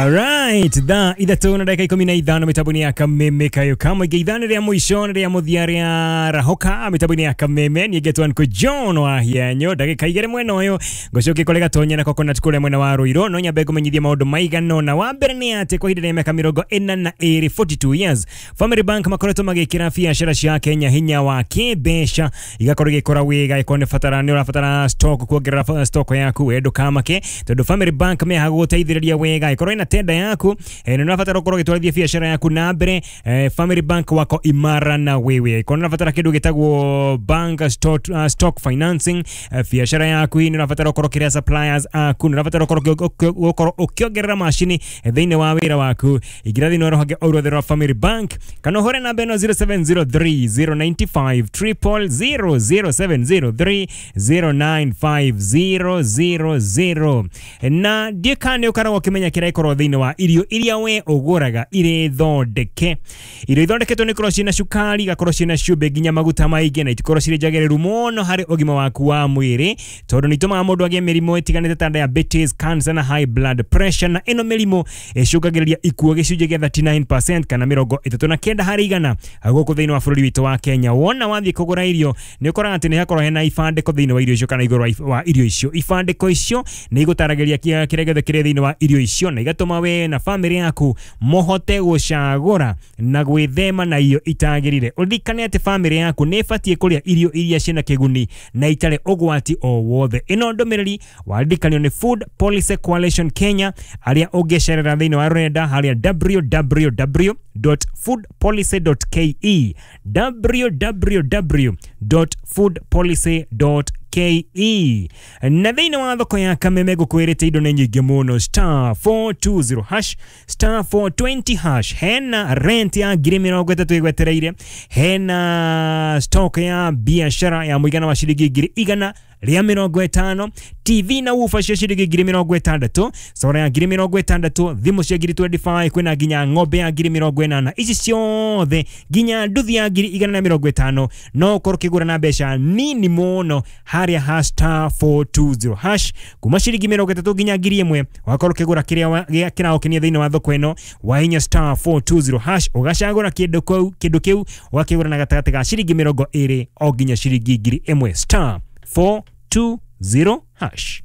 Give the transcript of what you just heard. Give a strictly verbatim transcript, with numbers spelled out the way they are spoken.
Alright, thaa ithatũ na ndagĩka ikũmi na ithano mĩtambo-inĩ ya Kameme kayo kamwe ithano rĩa mũico na rĩa mũthia rĩa rahoka mĩtambo-inĩ ya Kameme. Niĩ ngetwo Uncle John wa Hianyo, ndagĩka igĩrĩ mwena ũyũ ngũcokia kũrĩ Gatonya na Coconut kũrĩa mwena wa Ruiru. No nyambe ngũmenyithie maũndũ maigana ũna. Wa mbere nĩ atĩ kwa ihinda rĩa mĩaka mĩrongo ĩna na ĩrĩ, forty-two years, Family Bank makoretwo magĩkĩra biacara cia Kenya hinya wa kĩmbeca, igakorwo igĩkũra wega. Ĩkorwo nĩ batara nĩ ũrabatara stock, kuongerera stock yaku, we ndũkamake tondũ Family Bank mehaga gũgũteithĩrĩria wega. Ĩkorwo ĩna tenda yaku, eh, nĩ ũrabatara ũkorwo ũgĩtwarithia biacara yaku na mbere, eh, Family Bank wako imara na wewe. Ĩkorwo nĩ ũrabatara kĩndũ gĩtagwo bank stock, uh, stock financing, eh, biacara yaku nĩ ũrabatara ũkorwo ũkĩrĩa suppliers aku, nĩ ũrabatara ũkorwo ũkĩongerera macini thĩinĩ wa wĩra waku, ingĩra thĩinĩ wa rũhonge o ruothe rwa Family Bank kana ũhũre namba ĩno zero seven zero three zero nine five zero zero zero, zero seven zero three zero nine five zero zero zero. Na ndiĩ kana nĩ ũkoragwo ũkĩmenya kĩrĩa gĩkoragwo thĩinĩ wa irio iria we ũgũraga irĩ thondeke. Irio ithondeketwo nĩ ikoragwo ciĩna cukari, igakorwo ciĩna cumbĩ, nginya maguta maingĩ, na itikorwo cirĩ njagĩrĩru mũno harĩ ũgima waku wa mwĩrĩ tondũ nĩ itũmaga mũndũ agĩe mĩrimũ ĩtiganĩte ta diabetes, cancer na high blood pressure. Na ĩno mĩrimũ ĩcũngagĩrĩria ikuũ gĩcunjĩ gĩa thirty-nine percent kana mĩrongo ĩtatũ na kenda harĩ igana gũkũ thĩinĩ wa bũrũri witũ wa Kenya. Wona wathiĩ kũgũra irio, nĩ ũkoraga atĩ nĩ hakorwo hena ibandĩko thĩinĩ wa irio icio kana igũrũ wa irio icio. Ibandĩko icio nĩ igũtaragĩria kĩrĩa gĩothe kĩrĩ thĩinĩ wa irio icio na igatũma we na famĩlĩ yaku mũhote gũcagũra na gwĩthema na irio itagĩrĩire. Ũririkane atĩ famĩlĩ yaku nĩ ĩbatiĩ kũrĩa irio iria ciĩna kĩguni na itarĩ ũgwati o wothe. Ĩno ndũmĩrĩri waririkanio nĩ Food Policy Coalition Kenya, arĩa ũngĩcerera thĩinĩ wa rũrenda harĩa w w w dot foodpolicy dot k e, w w w dot foodpolicy dot k e. Na thĩinĩ wa thoko ya Kameme ngũkwĩrĩte indo nĩ nyingĩ mũno. Star four two zero hash, star four twenty hash, hena rent ya ngiri mĩrongo ĩtatũ ĩgwetereire, hena stock ya biashara ya mũigana wa ciringi ngiri igana rĩa mĩrongo ĩtano, T V na woofer cia ciringi ngiri mĩrongo ĩtandatũ, solar ya ngiri mĩrongo ĩtandatũ, thimũ cia ngiri mĩrongo ĩrĩ na ithano, kwĩna nginya ng'ombe ya ngiri mĩrongo ĩnana. Ici ciothe nginya nduthi ya ngiri igana na mĩrongo ĩtano no ũkorwo ũkĩgũra na mbeca nini mũno harĩa ha star four two zero hash, kuma ciringi mĩrongo ĩtatũ nginya ngiri ĩmwe, ũgakorwo ũkĩgũra kĩrĩa kĩragũkenia thĩinĩ wa thoko ĩno. Wahinya star four two zero hash, ũgacagũra kĩndũ kĩu kĩndũ kĩu ũgakĩgũra na gatagatĩ ga ciringi mĩrongo ĩrĩ o nginya ciringi ngiri ĩmwe, star four two zero hash.